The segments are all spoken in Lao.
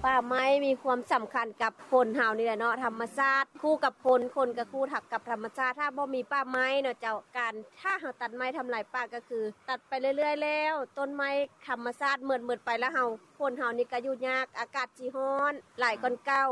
ປ່າໄມ້ມີຄວາມສຳຄັນກັບຄົນເຮົານີ້ແຫຼະເນາະ ທຳມະຊາດຄູ່ກັບຄົນ ຄົນກໍຄູ່ທັບກັບທຳມະຊາດ. ຖ້າບໍ່ມີປ່າໄມ້ເນາະເຈົ້າ ການ ຖ້າເຮົາຕັດໄມ້ທຳລາຍປ່າກໍຄືຕັດໄປເລື້ອຍໆແລ້ວ ຕົ້ນໄມ້ທຳມະຊາດໝົດໆໄປ ແລ້ວເຮົາ ຄົນເຮົານີ້ກໍຢູ່ຍາກ ອາກາດຊິຮ້ອນຫຼາຍກ່ອນເກົ່າ.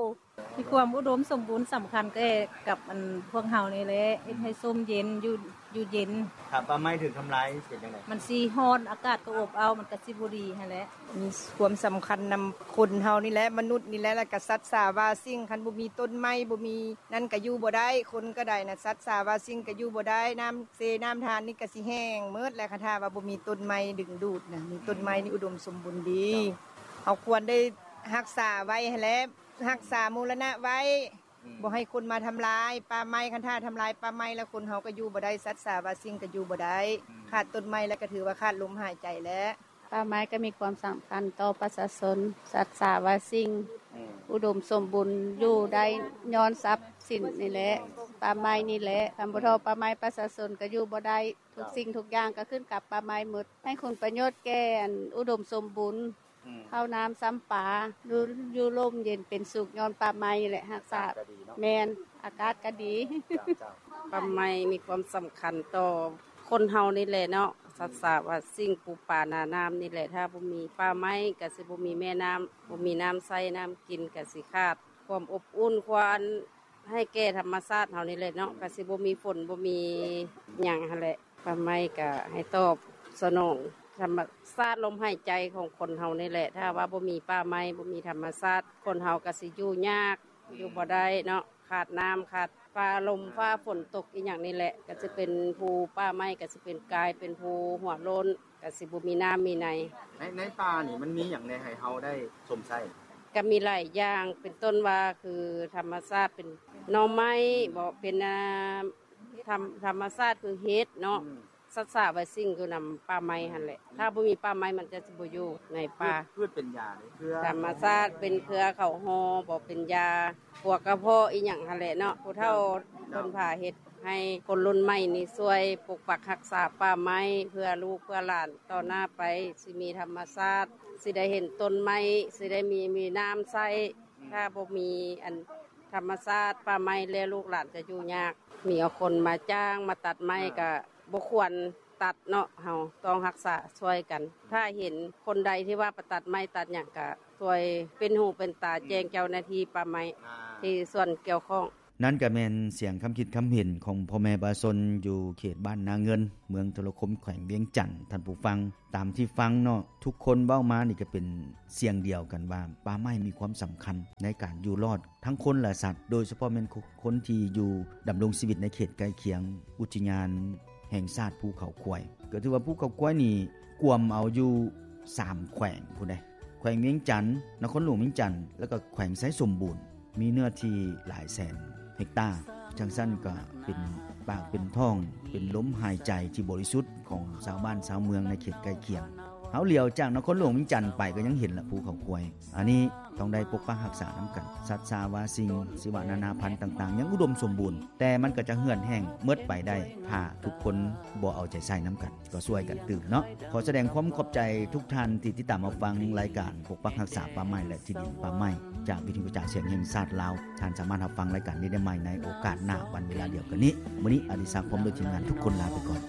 ມີຄວາມອຸດົມສົມບູນສຳຄັນແກ່ກັບອັນພວກເຮົານີ້ແຫຼະ ເຮັດໃຫ້ຊົມເຢັນ ຢູ່ ຢູ່ເຢັນ. ຖ້າປ່າໄມ້ຖືກທຳລາຍເປັນຈັ່ງໃດ? ມັນຊິຮ້ອນ ອາກາດກໍອົບເອົ້າ ມັນກໍຊິບໍ່ດີຫັ້ນແຫຼະ. ມີຄວາມສຳຄັນນຳຄົນເຮົານີ້ແຫຼະ ມະນຸດນີ້ແຫຼະ ແລ້ວກໍສັດສາວາສິ່ງ. ຄັນບໍ່ມີຕົ້ນໄມ້ ບໍ່ມີນັ້ນກໍຢູ່ບໍ່ໄດ້ ຄົນກໍໄດ້ນະ ສັດສາວາສິ່ງກໍຢູ່ບໍ່ໄດ້. ນ້ຳເຊນ້ຳທານນີ້ກໍຊິແຫ້ງໝົດແຫຼະ ຄັນຖ້າວ່າບໍ່ມີຕົ້ນໄມ້ດຶງດູດນະ. ມີຕົ້ນໄມ້ນີ້ອຸດົມສົມບູນດີ ເຮົາຄວນໄດ້ຮັກສາໄວ້ຫັ້ນແຫຼະ ຮັກສາບູລະນະໄວ້ ອືມ ບໍ່ໃຫ້ຄົນມາທຳລາຍປ່າໄມ້. ຄັນຖ້າທຳລາຍປ່າໄມ້ແລ້ວ ຄົນເຮົາກໍຢູ່ບໍ່ໄດ້ ສັດສາວາສິ່ງກໍຢູ່ບໍ່ໄດ້. ອືມ ຂາດຕົ້ນໄມ້ແລ້ວກໍຖືວ່າຂາດລົມຫາຍໃຈແລ້ວ. ປ່າໄມ້ກໍມີຄວາມສຳຄັນຕໍ່ປະຊາຊົນ ສັດສາວາສິ່ງ ອືມ ອຸດົມສົມບູນຢູ່ໄດ້ຍ້ອນຊັບສິນນີ້ແຫຼະ ປ່າໄມ້ນີ້ແຫຼະ. ຄັນບໍ່ເທາະປ່າໄມ້ ປະຊາຊົນກໍຢູ່ບໍ່ໄດ້. ທຸກສິ່ງທຸກຢ່າງກໍຂຶ້ນກັບປ່າໄມ້ໝົດ ໃຫ້ຄຸນປະໂຫຍດແກ່ອັນອຸດົມສົມບູນ. ອືມ ເຂົ້ານ້ຳຊຳປາ ຢູ່ ຢູ່ລົມເຢັນເປັນສຸກ ຍ້ອນປ່າໄມ້ນີ້ແຫຼະ ຮັກສາ ອາກາດກໍດີເນາະ. ແມ່ນ ອາກາດກໍດີ. ເຈົ້າ ເຈົ້າ ປ່າໄມ້ມີຄວາມສຳຄັນຕໍ່ຄົນເຮົານີ້ແຫຼະເນາະ ອືມ ສັດສາວາສິ່ງ ປູປານານ້ຳນີ້ແຫຼະ. ຖ້າບໍ່ມີປ່າໄມ້ກໍຊິບໍ່ມີແມ່ນ້ຳ ບໍ່ມີນ້ຳໃຊ້ນ້ຳກິນ ກໍຊິຂາດຄວາມອົບອຸ່ນ ຄວາມ ໃຫ້ແກ່ທຳມະຊາດເຮົານີ້ແຫຼະເນາະ ອືມ ກໍຊິບໍ່ມີຝົນ ບໍ່ມີຫຍັງຫັ້ນແຫຼະ. ປ່າໄມ້ກໍໃຫ້ຕອບສະໜອງທຳມະຊາດ ລົມຫາຍໃຈຂອງຄົນເຮົານີ້ແຫຼະ. ຖ້າວ່າບໍ່ມີປ່າໄມ້ ບໍ່ມີທຳມະຊາດ ຄົນເຮົາກໍຊິຢູ່ຍາກ ອືມ ຢູ່ບໍ່ໄດ້ເນາະ ຂາດນ້ຳ ຂາດຟ້າ ລົມຟ້າ ຝົນຕົກອີ່ຫຍັງນີ້ແຫຼະ ກໍຊິເປັນຜູ້ ປ່າໄມ້ກໍຊິເປັນ ກາຍເປັນຜູ້ຫົວໂລ້ນ ກໍຊິບໍ່ມີນ້ຳມີໃນ. ໃນ ໃນປ່ານີ້ມັນມີຫຍັງແດ່ໃຫ້ເຮົາໄດ້ຊົມໃຊ້? ກໍມີຫຼາຍຢ່າງ ເປັນຕົ້ນວ່າຄືທຳມະຊາດ ເປັນໜໍ່ໄມ້ບໍ ເປັນ ອ່າ ທຳ ທຳມະຊາດຄືເຫັດເນາະ ອືມ ສັດສາວາສິ່ງຄືນຳປ່າໄມ້ຫັ້ນແຫຼະ. ອືມ ຖ້າບໍ່ມີປ່າໄມ້ມັນຈະຊິບໍ່ຢູ່ໃນປ່າ. ພືດ ພືດເປັນຢາເດ້ ເຄືອ ທຳມະຊາດເປັນເຄືອເຂົ້າຫໍ່ບໍ ເປັນຢາ ພວກກະເພາະອີ່ຫຍັງຫັ້ນແຫຼະເນາະ ຜູ້ເຖົ້າ ເຈົ້າ ເພິ່ນພາເຮັດ ໃຫ້ຄົນລຸ້ນໃໝ່ນີ້ຊ່ວຍປົກປັກຮັກສາປ່າໄມ້ ເພື່ອລູກເພື່ອຫຼານຕໍ່ໜ້າໄປ ຊິມີທຳມະຊາດ ຊິໄດ້ເຫັນຕົ້ນໄມ້ ຊິໄດ້ມີ ມີນ້ຳໃຊ້. ອືມ ຖ້າບໍ່ມີອັນທຳມະຊາດປ່າໄມ້ແລ້ວ ລູກຫຼານຈະຢູ່ຍາກ. ມີເອົາຄົນມາຈ້າງມາຕັດໄມ້ ອ່າ ກະບໍ່ຄວນຕັດເນາະ ເຮົາຕ້ອງຮັກສາຊ່ວຍກັນ. ອືມ ຖ້າເຫັນຄົນໃດທີ່ວ່າໄປຕັດໄມ້ຕັດຫຍັງ ກະຊ່ວຍເປັນຫູເປັນຕາ ອືມ ແຈ້ງເຈົ້າໜ້າທີ່ປ່າໄມ້ ອ່າ ທີ່ສ່ວນກ່ຽວຂ້ອງ. ນັ້ນກໍແມ່ນສຽງຄຳຄິດຄຳເຫັນຂອງພໍ່ແມ່ປະຊາຊົນຢູ່ເຂດບ້ານນາເງິນ ເມືອງໂທລະຄົມ ແຂວງວຽງຈັນ ທ່ານຜູ້ຟັງ. ຕາມທີ່ຟັງເນາະ ທຸກຄົນເວົ້າມານີ້ກໍເປັນສຽງດຽວກັນວ່າ ປ່າໄມ້ມີຄວາມສຳຄັນໃນການຢູ່ລອດທັງຄົນ ແລະ ສັດ ໂດຍສະເພາະແມ່ນຄົນທີ່ຢູ່ດຳລົງຊີວິດໃນເຂດໃກ້ຄຽງ ອຸທິຍານແຫ່ງຊາດພູເຂົາຄວາຍ. ກໍຖືວ່າພູເຂົາຄວາຍນີ້ກວມເອົາຢູ່ສາມແຂວງພຸ້ນເດ້ ແຂວງວຽງຈັນ, ນະຄອນຫຼວງວຽງຈັນ ແລ້ວກໍແຂວງໄຊສົມບູນ ມີເນື້ອທີ່ຫຼາຍແສນເຮັກຕາ. ຈັ່ງຊັ້ນກໍເປັນປາກເປັນທ້ອງ ເປັນລົມຫາຍໃຈທີ່ບໍລິສຸດຂອງຊາວບ້ານຊາວເມືອງໃນເຂດໃກ້ຄຽງ. ເຮົາຫຼຽວຈາກນະຄອນຫຼວງວຽງຈັນໄປກໍຍັງເຫັນລະພູເຂົາຄວາຍ. ອັນນີ້ຕ້ອງໄດ້ປົກປັກຮັກສານຳກັນ. ສັດສາວາສິ່ງ ຊີວະນານາພັນຕ່າງໆ ຍັງອຸດົມສົມບູນ, ແຕ່ມັນກໍຈະເຫືອດແຫ້ງໝົດໄປໄດ້ ຖ້າທຸກຄົນບໍ່ເອົາໃຈໃສ່ນຳກັນ. ກໍຊ່ວຍກັນຕື່ມເນາະ. ຂໍສະແດງຄວາມຂອບໃຈທຸກທ່ານທີ່ຕິດຕາມຮັບຟັງລາຍການປົກປັກຮັກສາປ່າໄມ້ ແລະ ທີ່ດິນປ່າໄມ້ ຈາກວິທະຍຸກະຈາຍສຽງແຫ່ງຊາດລາວ. ທ່ານສາມາດຮັບຟັງລາຍການນີ້ໄດ້ໃໝ່ໃນໂອກາດໜ້າ ວັນເວລາດຽວກັນນີ້. ມື້ນີ້ອະດິສັກ ພ້ອມດ້ວຍທີມງານທຸກຄົນລາໄປກ່ອນ.